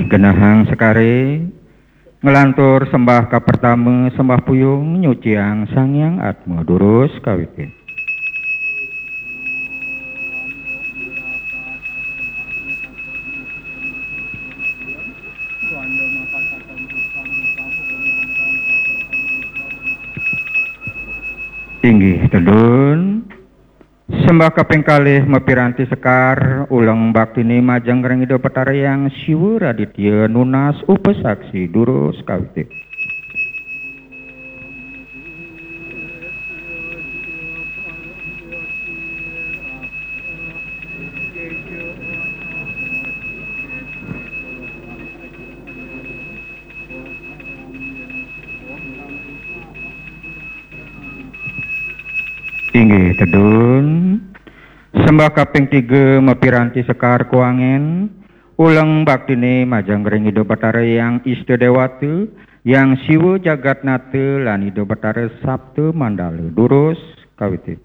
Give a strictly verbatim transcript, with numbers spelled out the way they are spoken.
Genahang sekare, nglantur sembah kapertama, sembah puyung nyuciang Sang Hyang Atma. Durus kawiti. Inggih tedun. Sembah kaping kalih mapiranti sekar, uleng baktine majeng ring Ida Betara Hyang Siwa Raditya nunas upasaksi. Durus kawiti. Inggih tedun. Sembah kaping tiga mapiranti sekar kuangen, uleng baktine majeng ring Ida Betara Hyang Ista Dewata, Hyang Siwa Jagatnata lan Ida Betara Sapta Mandala. Durus kawiti.